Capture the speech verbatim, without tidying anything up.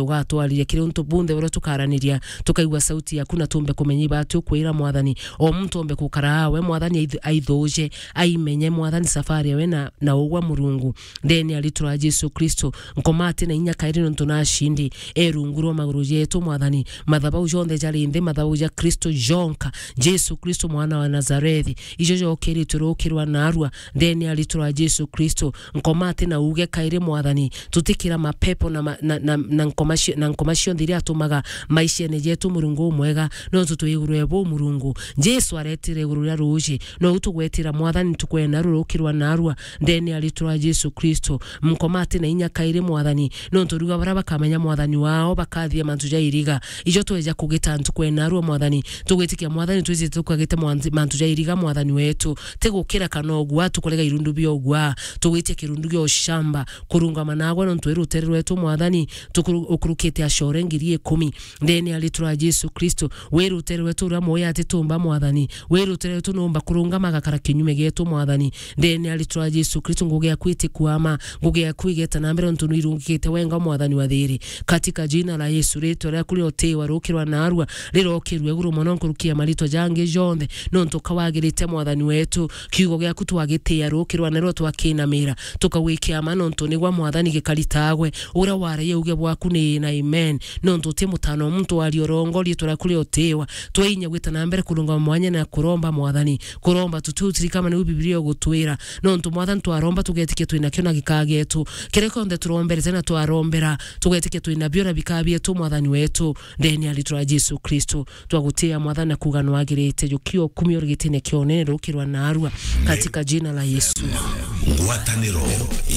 ugatwariria kiri untu bunthe buria tukaraniria, tukaigua sauti yaku na tumbe kumenya iba ati ukwira, Mwathani. O muntu ombe gukara awe, Mwathani, aith-, aithuje, aimenye, Mwathani, safari yawe na, na ugwa, Murungu. Ndene ya ritwa ria Jesu Kristo, nkoma ati na inya kairi nontu nashindi. E rungu rwa maguru jetu, Mwathani, mathabau jonthe jari nthi, mathabau ja Kristo jonka. Jesu Kristo, mwana wa Nazarethi, ijo jokiritwe rukirwa narua. Ndene ya ritwa ria Jesu Kristo, nkoma ati na uge kairi, Mwathani, tutikira mapepo na ma-, na, na, na nkoma cio-, na nkoma cionthe iria atumaga maishene jetu, Murungu umwega, nontu twi iguru ebu, Murungu. Jesu aretire iguru ria ruji, nou tugwetira, Mwathani, tukwena rurukirwa narua. Ndene ya ritwa ria Jesu Kristo, nkoma ati na inya kairi, Mwathani, nontu riuga baria bakamenya, Mwathani, wao bakathia mantu ja iriga. Ijo tweja kugita ntuku ena arua, Mwathani, tugwitikia, Mwathani, twiji tukagite mwanthi-, mantu ja iriga, Mwathani wetu. Ti gukira kana ugwa, tukurega irundu bia ugwa. Tugwitia kirundu gia ushamba, kurungama nagwe nontu wi rutere rwetu, Mwathani, tukuru-, ukurukite acore ngiri ikumi. Ndene ya ritwa ria Jesu Kristo, wi rutere rwetu uria mwoya ati tumba, Mwathani. Wi rutere rwetu numba kurungama agakara kinyume gietu, Mwathani. Ndene ya ritwa ria Jesu Kristo, ngugi yaku itikwama, ngugi yaku igeta na mbere, nontu nwirungikite wenga, Mwathani wa thiri. Katika jina la Yesu, ritwa riaku riutiwa rukirwa narua, rirokirwe iguru mono nkuruki ya maritwa jangi jonthe, nontu kawagirite, Mwathani wetu. Kiugo giaku twagitia rukirwa narua, twakinamira, tukagwikia ma, nontu nigwa, Mwathani, gikaritagwe. Uria waragia uge bwaku ni na amen, nontu uti mutano wa muntu waria urongo, ritwa riaku riutiwa. Twainya gwita na mbere kurungama mwanya na kuromba, Mwathani. Kuromba tuti utirikama niu Bibilia igutwira. Nontu, Mwathani, twaromba tugetikia twinakio na gikagetu. Kiria kionthe turomberete na twarombera, tugetikia twinabio na bikabietu, Mwathani wetu. Ndene ya ritwa ria Jesu Kristo, twagutia, Mwathani, na kuga nwagirite. Jukio kumio rigitine kia unene rukirwa narua. Katika jina la Yesu. Ngwataniro